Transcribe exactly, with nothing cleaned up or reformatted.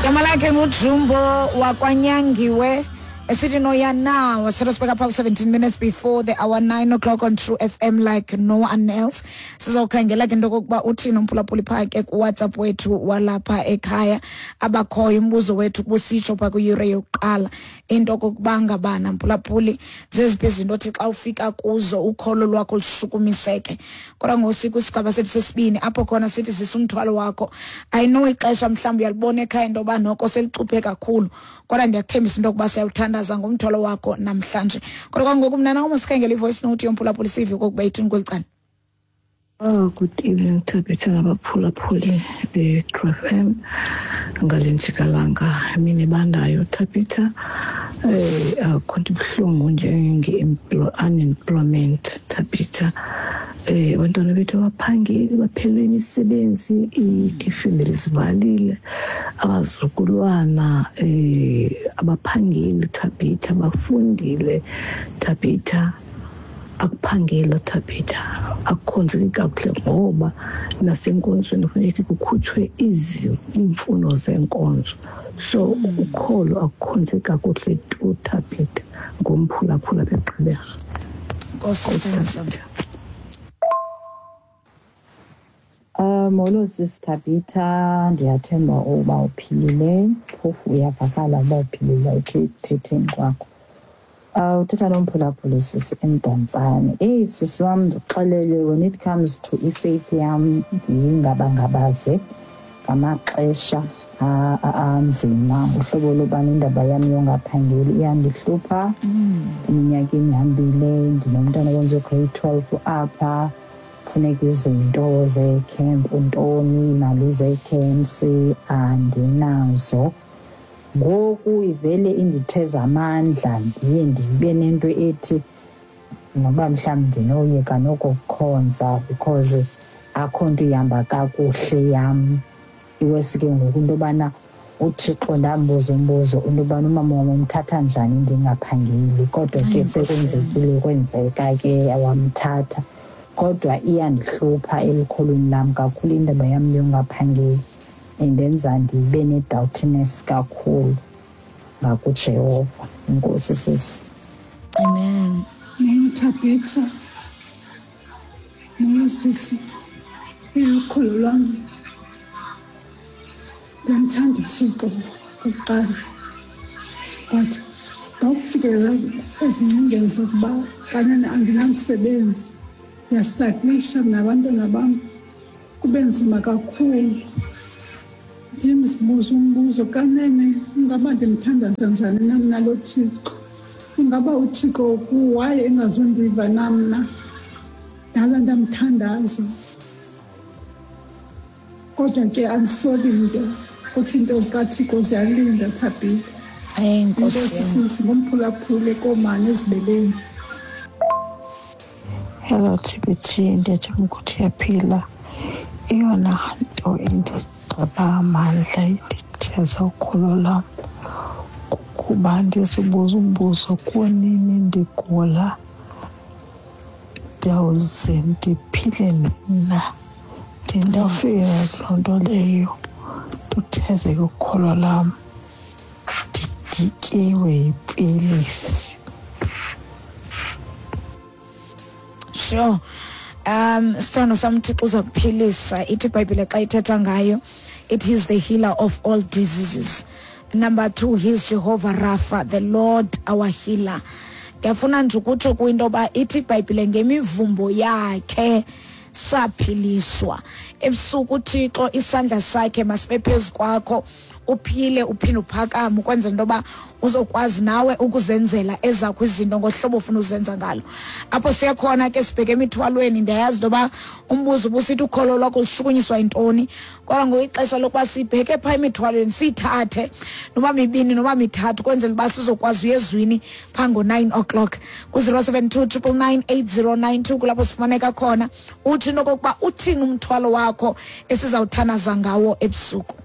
Igama lakhe nguJumbo wakwanyangiwe esithi noya now. So sibeka phaa seventeen minutes before the hour nine o'clock on True F M like no one else. Sizawukhangela ke into okokuba uthini umphulaphuli phaa ke kuWhatsApp wethu walapha ekhaya abakhoyo. Umbuzo wethu kubusitsho phaa kwiyure yokuqala into okokuba ngabana mphulaphuli zeziphi izinto othi xa ufika kuzo ukholo lwakho lushukumiseke. Kodwa ngoku kwisigaba sethu sesibini apho khona sithi zisa umthwalo wakho. I know ixesha mhlawumbi uyalibona ekhaya into yoba noko selicuphe kakhulu, kodwa ndiyakuthembisa into yokuba siyawuthanda ngomthwalo wakho namhlanje. Kodwa kwangoku mna nawe masikhangele i-voice note yomphulaphuli sive okokuba ithini kweli cala. Oh, good evening Thabitha nabaphulaphuli be-True F M ngale njikalanga emini ebandayo. Thabitha, eh akho nto ibuhlungu njenge-unemployment Thabitha. Eh abantwana bethu abaphangeli, baphelelwe imisebenzi, iifemeli zivalile, abazukulwana eh abaphangeli Thabitha, bafundile Thabitha, akuphangelwa Thabitha, akukhonzeki kakuhle ngoba nasenkonzweni kufuneka kukhutshwe iimfuno zenkonzo. So ukholo akukhonzeki kakuhle tu Thabitha, ngomphulaphula begqibela. Nkosi. Uh, molo sisi Thabitha, ndiyathemba uba uphilile, phofu uyavakala uba uphilile ekuthetheni kwakho. Uh, uthetha nomphulaphuli sisi eMdantsane. Eyi sisi wam, ndikuxelele, when it comes to ifaith yam ndiyingabangabaze ngamaxesha anzima. Uhlobo lobana indaba yam yongaphangeli iyandihlupha. Iminyaka imihambile, ndinomntana owenza ugrade twelve apha, kufuneka izinto zeecamp, ntoni, imali zeecamps andinazo. Ngoku ivele inditheza amandla, ndiye ndibe nento ethi noba mhlawumbi ndinoyeka nokukhonza because akho nto ihamba kakuhle yam. Iwesi ke ngoku into yobana uThixo ndambuza umbuzo into yobana umama wam umthatha njani ndingaphangeli, kodwa ke sekwenzekile kwenzeka ke wamthatha. Kodwa iyandihlupha elukholweni lam kakhulu indaba yam yongaphangeli, indenza ndibe ne-doubtiness kakhulu ngakuJehova. Inkosi sisi. Amen. Molo Thabitha, molo sisi. Ukholo lwam, ndiyamthanda uThixo okokuqala, but ndawufikelela ezingcingeni zokuba kanene andinamsebenzi, ndiyastraglisha nabantwana bam, kube nzima kakhulu. Ndimzibuza umbuzo, kanene ingaba ndimthandaza njani na mna lo Thixo? Ingaba uThixo waye engazundiva na mna? Ndala ndamthandaza, kodwa ke andisoli nto, kodwa iinto zikaThixo ziyalinda Thabitha. Enkosi sisi, ngomphulaphuli komane ezibeleni. Hello T B T, ndiyathemba ukuthi uyaphila. Eyona nto indigqiba amandla inditheza ukholo lam kukuba ndizibuza umbuzo, kunini ndigula, ndiyawuze ndiphile nina? Ndiye ndawufika kuloo nto leyo, nduthezeke ukholo lam, ndidikiwe yipilisi. Sure. Um sithando sam, Thixo uza kuphilisa. Ithi iBhayibhile xa ithetha ngayo, it is the healer of all diseases. Number two, he is Jehovah Rapha, the Lord our healer. Ndiyafuna nje ukutsho kwinto yoba ithi iBhayibhile ngemivumbo yakhe saphiliswa. Ebusuku uThixo isandla sakhe masibe phezu kwakho, uphile uphinde uphakame ukwenzela into yoba uzokwazi nawe ukuzenzela ezakho izinto ngohlobo ofuna uzenza ngalo. Apho siya khona ke sibheke emithwalweni. Ndiyayazi into yoba umbuzo ubusithi ukholo lwakho lushukunyiswa yintoni, kodwa ngoku ixesha lokuba sibheke phaa emithwalweni siyithathe noba mibini noba mithathu ukwenzela uba sizokwazi uya ezwini phaa ngo-nine o'clock ku-zero seven two triple nine eight zero nine two kulapho sifumaneka khona. Uthi into okokuba uthini umthwalo wakho esizawuthanaza ngawo ebusuku.